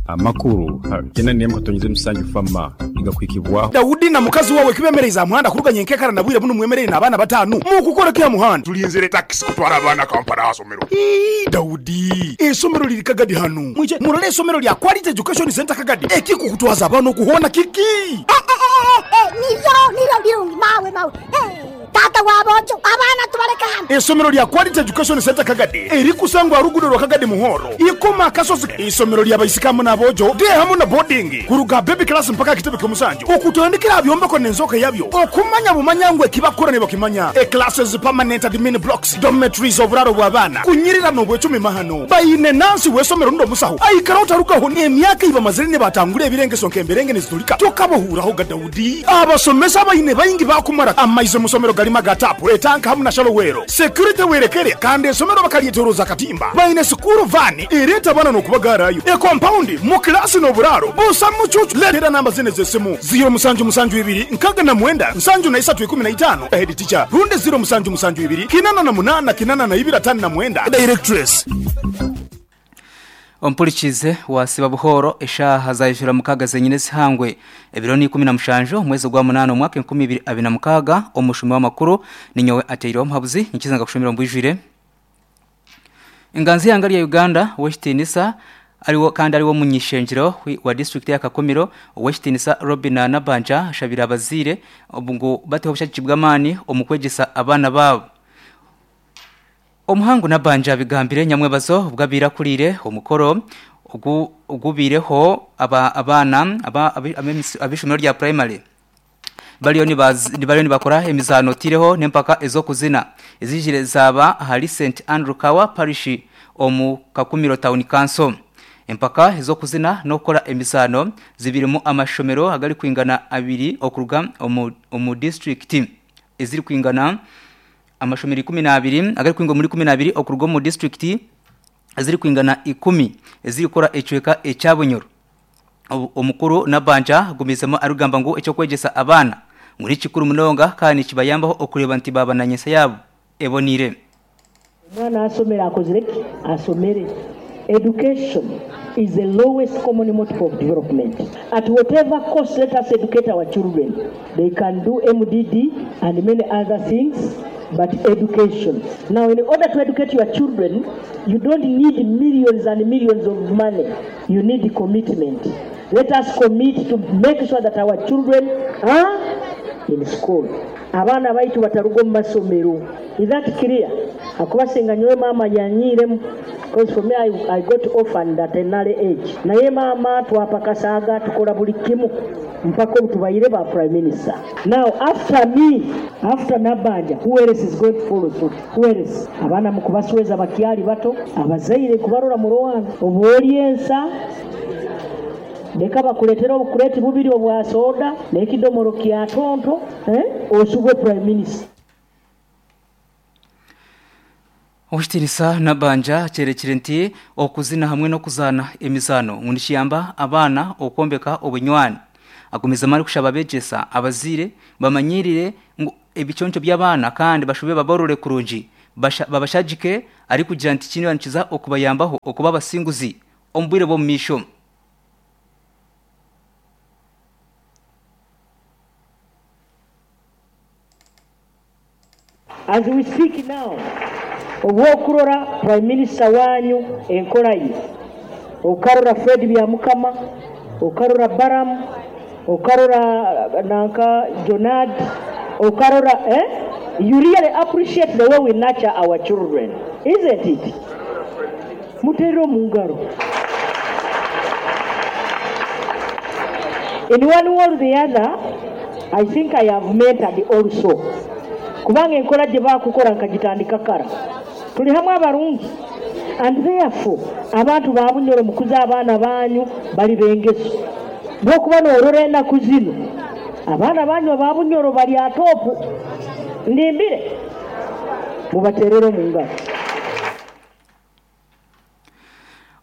Amakuru 81.7 FAMA nigakuhikibwaho. Daudi na mukazi wawe kibemereize aha muhanda kuruga nyenkekara na bwire bunu mwemereire n'abaana batanu mukukora ki aha muhanda? Tulinzire takisi kutwara abaana Kampala aha somero. Ii, Daudi, eisomero liri Kagadi hanu. Mwije murole eisomero lya Quality Education Centre Kagadi. Ekikukutwaza abaana oku hoona kiki? Eh, eh, eh, eh, niryo, niryo birungi, mawe, mawe. Eh. Taata wa boojo, abaana tubaleke hanu. Eisomero lya Quality Education Centre Kagadi erikusangwa aha ruguudo rwa Kagadi Muhoro, Ikoma Akasozi. Eisomero lya baisiki hamu n'aboojo, day hamu na boarding, kuruga aha baby class mpaka aha kitebe ky'omusanju, okutandikira aha byombeko n'enzooka yabyo, okumanya bumanya ngu eki bakukora nibakimanya. E-classes, permanent admin blocks, dormitories, oburaaro bw'abaana, kunyirira n'obwecumi mahano. Baine nansi w'eisomero rundi omusaho aikara otarugaho n'emyaka ei bamazire nibatangura ebirengeso nk'emberenge niziturika tokabahuuraho ga Daudi. Abasomesa abaine baingi baakumara amaizi omu somero garimu aga taapu, etanka hamu na shallow well. Security werekere kandi eisomero bakaryetoroza akatimba. Baine sikuuru vaani ereeta abaana n'okubagaarayo. Ekompaundi, mu kilaasi n'oburaaro busa mucuucu. Leetera namba zinu ez'esimu, ziiro musanju musanju ibiri 69 73 15, Head teacher, rundi ziiro musanju musanju ibiri 88 82 59, Directress. Ompurikize wasiba buhooro eshaaha zaijura mukaaga zenyine ezihangwe. Ebiro ni 17 omwezi ogwa munaana omwaka 2026 omushumi w'amakuru ninyowe Ateireho Omuhabuzi nyikiza nkakushomera omu bwijwire. Enganzi y'eihanga rya Uganda ow'ekitiinisa ariwe kandi ariwe omuny'ishengyero wa disiturikiti ya Kakumiro ow'ekitiinisa Robinah Nabbanja ashabire abazaire ngu bateho obushagiki bw'amaani omu kwegyesa abaana baabo. Omuhangu Nabbanja abigambire nyamwebazo obu abaire akuriire omukoro ogu ogubaireho abaana ab'eishomero rya purayimare bariyo nibakora emizaano otaireho n'empaka ez'okuzina eziijire zaaba ahari St Andrew Kawa Parish omu Kakumiro Town Council. Empaka ez'okuzina n'okukora emizaano zibirimu amashomero agarikwingana abiri okuruga omu disiturikiti ezirikwingana Amashomero 12 agarikwinga omuri 12 okuruga omu disiturikiti ezirikwingana ikumi ezirikukora ekicweka ekya Bunyoro. Omukuru Nabbanja agumiizemu arikugamba ngu eky'okwegyesa abaana ngu nikikuru munonga kandi nikibayambaho okureeba nti baaba na nyentsya yaabo eboniire. Omwana asomere akozire ki? Asomere. Education is the lowest common multiple of development. At whatever cost let us educate our children. They can do MDD and many other things but education. Now in order to educate your children you don't need millions and millions of money, you need commitment. Let us commit to make sure that our children are in school. Abaana baitu bataruga omu masomero. Is that clear? Ahakuba singa nyowe maama yanyiiremu coz for me I got orphaned at an early age naye maama twapakasaaga tukora buri kimu mpaka obu tubaire ba prime minister. Now after me, after Nabbanja who else is going to follow suit? Who else? Abaana mukubasweza bakyari bato, abazaire nkubarora murowana obu ori ensa leka bakuretere obukureti bubiri obwa soda n'ekidomoro kya tonto eh oshubwe prime minister. Owekitiinisa Nabbanja akyerekire nti okuzina hamwe n'okuzaana emizaano ngu nikiyamba abaana okwombeka obunywani. Agumizemu arikushaba abeegyesa abazaire bamanyiirire ngu ebiconco by'abaana kandi bashube babarore kurungi babashagike arikugira nti kinu nikiza okubayambaho okuba abasinguzi omu bwire bw'omu maisho. As we speak now, obu okurora Prime Minister wanyu enkora ye, okarora Fred Byamukama, okarora Balaam, okarora nanka Jonard, okarora eh? You really appreciate the way we nurture our children, isn't it? Muterere omu ngaro. In one way or the other, I think I have mentored also kubanga enkora gye bakukora nkagitandika kara. Turi hamwe abarungi and therefore abantu ba Bunyoro mukuze abaana banyu bari b'engeso. Bw'okuba norora enaku zinu abaana banyu aba Bunyoro bari aha topu. Ndimbire? Mubaterere omu ngaro.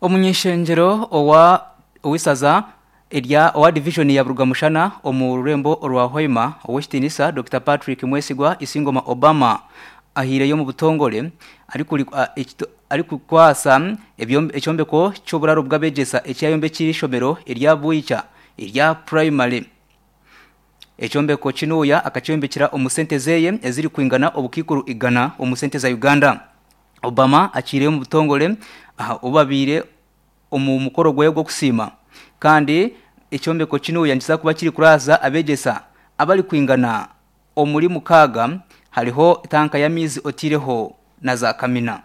Omuny'eishengyero owa ow'eisaza erya owa divijoni ya Burugamushana omu rurembo orwa Hoima, Ow'ekitiinisa Dokita Patrick Mwesigwa Isingoma Obama ahaireyo omu butongore arikukwasa ekyombeko ky'oburaro bw'abegyesa ekyayombekire ishomero erya Bwicha erya primary. Ekyombeko kinuya akakyombekera omu sente zeye eziri kwingana obukiikuru 100 omu sente za Uganda. Obama akiireyo omu butongore aha obu omu mukoro gwe gw'okusiima kandi ekyombeko kinuya nikiza kuba kiri kuraaza abegyesa abari kwingana omuri 6 hariho tanka y'amaizi otiireho na za kamina.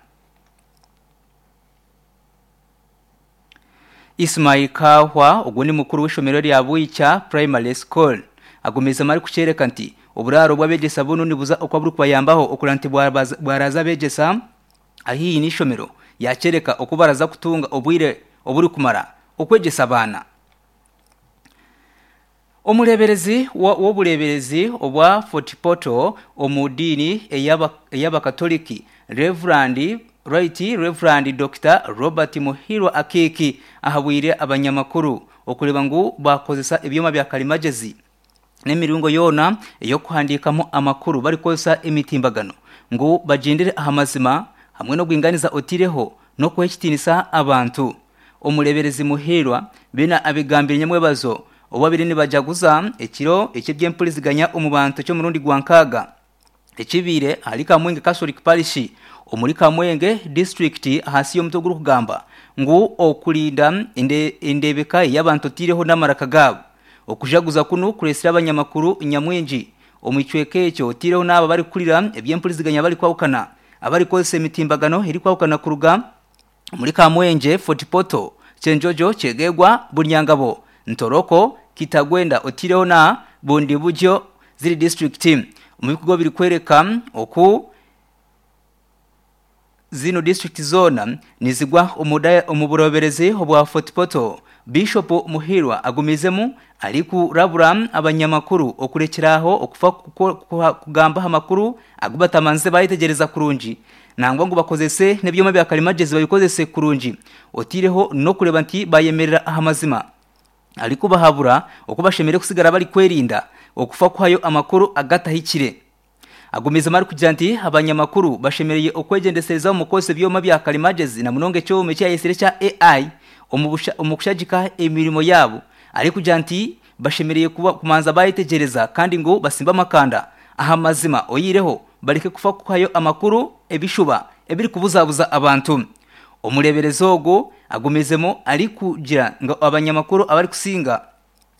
Ismail Kahwa ogwo ni mukuru w'ishomero rya Bwicha Primary School agumizemu arikukyereka nti oburaaro bw'abegyesa bunu nibuza okwa burikubayambaho okureba nti bwaraza abegyesa haihi n'ishomero yakyereka oku baraza kutunga obwire oburikumara okwegyesa abaana. Omureberezi w'obureberezi obwa Fort Portal omu diini ey'abakatoliki Reverend Right Reverend Dr. Robert Muhirwa Akiki ahabwire abanyamakuru okureba ngu bakozesa ebyoma bya karimagezi n'emiringo yoona ey'okuhandiikamu amakuru barikozesa emitimbagano ngu bagyendere aha mazima hamwe n'obwinganiza otireho n'okuha ekitiinisa abantu. Omureberezi Muhirwa bina abigambire nyamwebazo obabiri nibajaguza ekiro eky'ebyempuriziganya omu bantu ky'omurundi gwa 6 ekibiire ahari Kamwenge Catholic Parish omuri Kamwenge district ahansi y'omutwe ogurikugamba ngu okurinda endebeka y'abantu otireho n'amaraka gaabo. Okujaguza kunu kuresire abanyamakuru nyamwingi omu kicweka ekyo otireho n'abo barikukurira ebyempuriziganya barikwahukana abarikozesa emitimbagano erikwahukana kuruga omuri Kamwenge, Fort Portal, Kyenjojo, Kyegegwa, Bunyangabo, Ntoroko, Kitagwenda otireho na Bundibugyo ziri district. Omu bikorwa birikwereka oku zino district zoona nizigwa omu bureberezi obwa Fort Portal. Bishop Muhirwa agumizemu arikurabura abanyamakuru okurekyeraho okufa kugamba amakuru agu batamanze bayetegyereza kurungi nangwa ngu bakozese n'ebyoma bya karimagezi babikozese kurungi otireho n'okureba nti bayemerera aha mazima. Arikubahabura oku bashemereire kusigara bari kwerinda okufa kuhayo amakuru agatahikire. Agumizemu arikugira nti abanyamakuru bashemereire okwegyendesereza omu kukozesa ebyoma bya karimagezi na munonga ekyoma ekyayesire ekya AI omu kushagika emirimo yaabo. Arikugira nti bashemereire kumanza bayetegyereza kandi ngu basimbe amakanda aha mazima oyireho bareke kufa kuhayo amakuru ebishuba ebirikubuzabuza abantu. Omureberezi ogwo agumizemu arikugira ngu abanyamakuru abarikusinga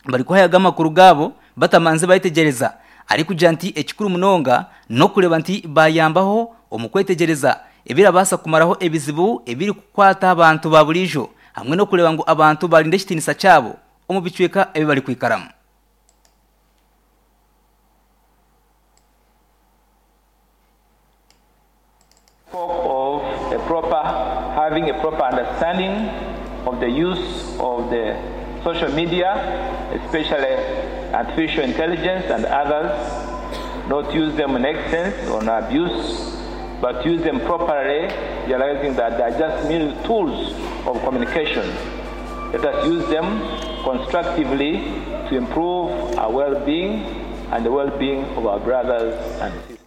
barikuhayaga amakuru gaabo batamanze bayetegyereza. Arikugira nti ekikuru munonga n'okureba nti bayambaho omu kwetegyereza ebirabaasa kumaraho ebizibu ebirikukwata abantu ba buriijo hamwe n'okureba ngu abantu barinda ekitiinisa kyabo omu bicweka ebi barikwikaramu. Spoke of a proper, having a proper understanding of the use of the social media, especially artificial intelligence and others, not use them in excess or in abuse, but use them properly, realizing that they are just mere tools of communication. Let us use them constructively to improve our well-being and the well-being of our brothers and sisters.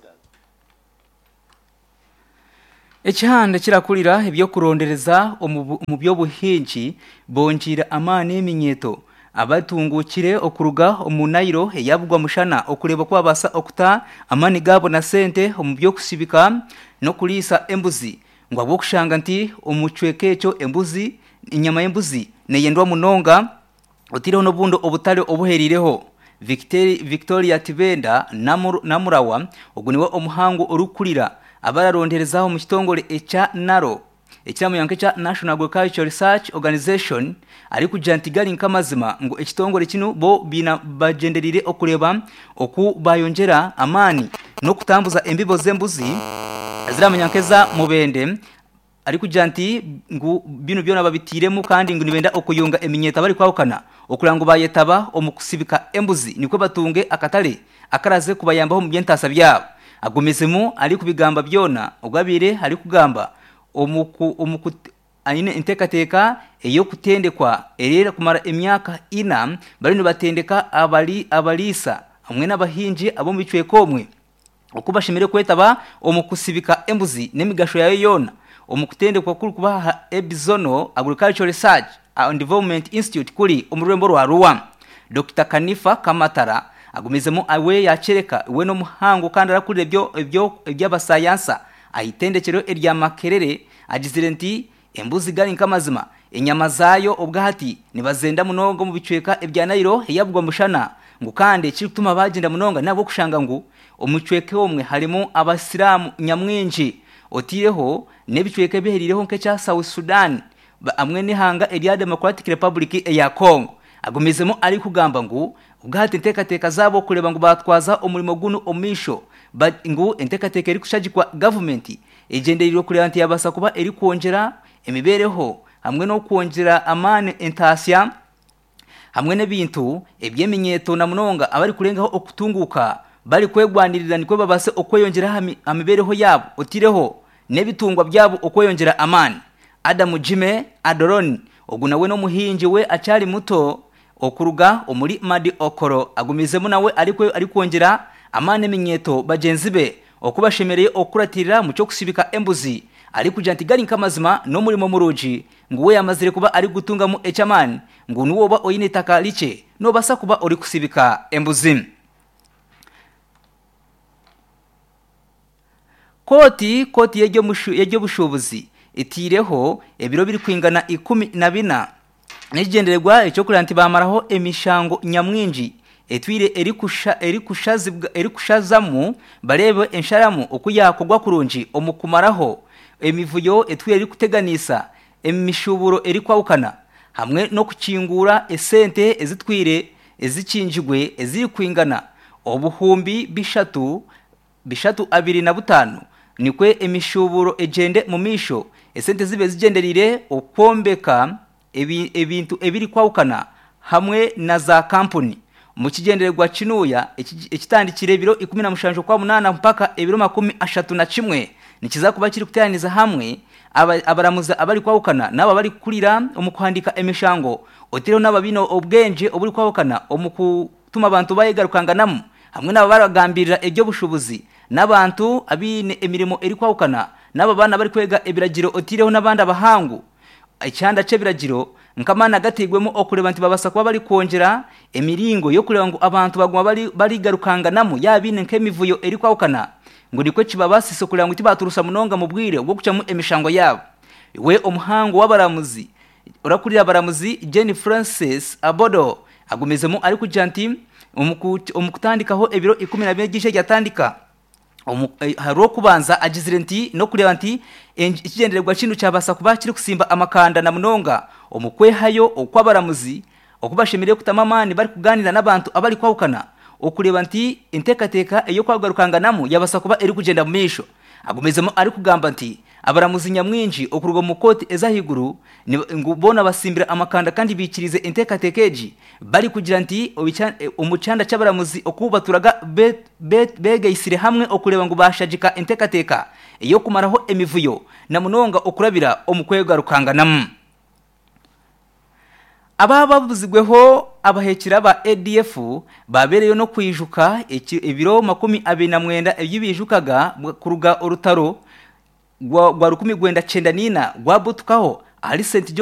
Ekihanda kirakurira ebyokurondereza omu by'obuhingi bongiire amaani eminyeto abatungukire okuruga omu Nairo eyabugwa mushana okureba ku babaasa okuta amaani gaabo na sente omu by'okusibika n'okuriisa embuzi ngu ahabw'okushanga nti omu kicweka ekyo embuzi enyama y'embuzi neyendwa munonga otiireho n'obundi obutare obuheriireho. Victoria Tibenda Namurawa ogu niwe omuhangu orikukurira abararonderezaho omu kitongore ekya NARO ekiramanywa nk'ekya National Agricultural Research Organization arikugira nti gari nk'amazima ngu ekitongore kinu bo bagyendereire okureba oku bayongyera amaani n'okutambuza embibo z'embuzi eziramanywa nk'eza mubende arikugira nti ngu binu byona babitiiremu kandi ngu nibenda okuyunga eminyeto abarikwahukana okureba ngu bayetaba omu kusibika embuzi nikwo batunge akatare akaraze kubayambaho omu by'entaasa byabo. Agumizemu arikubigamba byona ogwo abaire arikugamba aine enteekateeka ey'okutendekwa erikumara emyaka 4 bariyo nibatendeka abariisa hamwe n'abahingi ab'omu bicweka omwe oku bashemereire kwetaba omu kusibika embuzi n'emigasho yaayo yoona. Omu kutendekwa okurikuba aha Ebizono Agricultural Research and Development Institute kuri omu rurembo rwa Arua. Dokita Kanifa Kamatara agumizemu we yakyereka we n'omuhangu kandi arakurira ebyo ebyo eby'abasayansa aha itendekyero erya Makerere agizire nti embuzi gari nk'amazima enyama zaayo obwahati nibazenda munonga omu bicweka ebya Nailo eyabugwa mushana ngu kandi ekirikutuma bagyenda munonga n'ahabw'okushanga ngu omu kicweka omwe harimu abasiraamu nyamwingi otaireho n'ebicweka ebiheriireho nk'ekya South Sudan hamwe n'eihanga erya Democratic Republic eya Congo. Agumizemu arikugamba ngu obwahati enteekateeka zaabo kureeba ngu baatwaza omurimo gunu omu maisho ngu enteekateeka erikushagikwa gavumenti egyendereirwe kureeba nti yaabaasa kuba erikwongyera emibeereho hamwe n'okwongyera amaani entaasya hamwe n'ebintu eby'eminyeeto na munonga abarikurengaho okutunguuka barikwegwanirira nikwo babaase okweyongyera aha mibeereho yaabo otaireho n'ebitungwa byabo okweyongyera amaani. Adamu Jime Adoron, ogu nawe n'omuhingi we akyari muto okuruga omuri Madi Okoro agumizemu nawe arikwongyera amaani eminyeeto bagyenzi be oku bashemereire okukuratirira omu ky'okusibika embuzi arikugira nti gari nk'amazima n'omurimo murungi ngu we yamazire kuba arikugutungamu eky'amaani ngu niwe oba oine eitaka rikye nobaasa kuba orikusibika embuzi. Kooti Kooti y'eby'obushuubuzi etaireho ebiro birikwingana 14 n'ekigyendererwa eky'okureeba nti baamaraho emishango nyamwingi etwire erikushazamu bareebe ensharamu oku yaakorwa kurungi omu kumaraho emivuyo etwire erikuteganisa emishuuburo erikwahukana hamwe n'okukinguura esente ezitwire ezikingirwe ezirikwingana obuhumbi bishatu bishatu 25 nikwo emishuuburo egyende mu maisho esente zibe zigyendereire okwombeka ebintu ebirikwahukana hamwe na za kampuni omu kigyendererwa kinuuya ekitandikire ebiro 17 Okwamunaana mpaka ebiro 31 nikiza kuba kirikuteeraniza hamwe abaramuzi abarikwahukana n'abo abarikukurira omu kuhandiika emishango otaireho n'abo abaine obwengye oburikwahukana omu kutuma abantu bayegarukanganamu hamwe n'abo abarikugambirira eby'obushuubuzi n'abantu abaine emirimo erikwahukana n'abo abaana abarikwega ebiragiro otaireho n'abandi abahangu. Ekihanda ky'ebiragiro nk'amaani agatairwemu okureeba nti babaasa kuba barikwongyera emiringo y'okureeba ngu abantu baguma barigarukanganamu yaaba baine nk'emivuyo erikwahukana ngu nikwo kibabaasise kureeba ngu tibaaturusa munonga mu bwire bw'okucwamu emishango yaabo. We omuhangu w'abaramuzi orakurira abaramuzi Jane Frances Abodo agumizemu arikugira nti omu kutandikaho ebiro 14 ery'eizooba eryatandika aha Rwokubanza agizire nti n'okureeba nti ekigyendererwa kinu kyabaasa kuba kirikusimba amakanda na munonga omu kwehayo okw'abaramuzi oku bashemereire kutamu amaani barikugaaniira n'abantu abarikwahukana okureeba nti enteekateeka ey'okwagarukanganamu yabaasa kuba erikugyenda mu maisho. Agumizemu arikugamba nti abaramuzi nyamwingi okuruga omu kooti ez'ahaiguru ngu boona basimbire amakanda kandi baikiriize enteekateeka egi barikugira nti omu kyanda ky'abaramuzi oku baturaga begaitsire hamwe okureeba ngu bashagika enteekateeka ey'okumaraho emivuyo na munonga okurabira omu kwegarukanganamu. Aba babuzigweho abahekyera ba ADF babereyo n'okwijuka ebiro 29 ebi bijukaga kuruga orutaro rwa 1994 rwabutukaho ahari St.